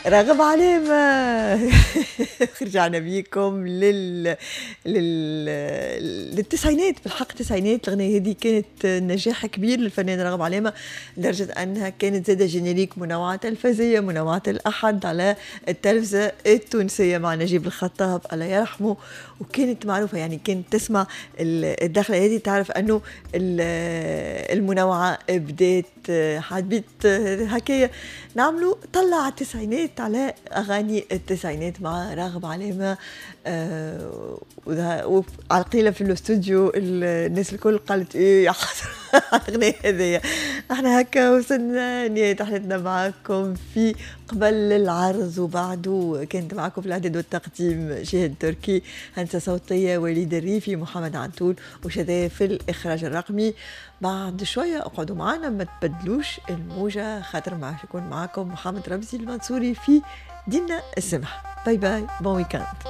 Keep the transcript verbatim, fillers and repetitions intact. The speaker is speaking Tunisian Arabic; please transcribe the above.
راغب علامة. رجعنا بيكم لل... لل... للتسعينات، بالحق التسعينات. الأغنية هذه كانت نجاح كبير للفنان راغب علامة، لدرجة أنها كانت زادة générique منوعة تلفزية، منوعة الأحد على التلفزة التونسية مع نجيب الخطاب الله يرحمه، وكانت معروفة، يعني كانت تسمع الدخلة هذه تعرف أنه المنوعة بدات. حبيت هكايا نعملوا طلع التسعينات على أغاني التسعينات مع راغب علامة. آه وعلى القليلة في الاستوديو الناس الكل قالت ايه يا حسرة الأغنية هذيا. احنا هكا وصلنا نهاية رحلتنا معكم في قبل العرض وبعده. كانت معكم في الإعداد والتقديم جهاد تركي، هندسة صوتية وليد الريفي، محمد عنتول وشذا في الإخراج الرقمي. بعد شوية اقعدوا معنا ما تبدلوش الموجة، خاطر مع يكون معكم محمد رمزي المنصوري في دينا السمح. bye bye، bon week-end.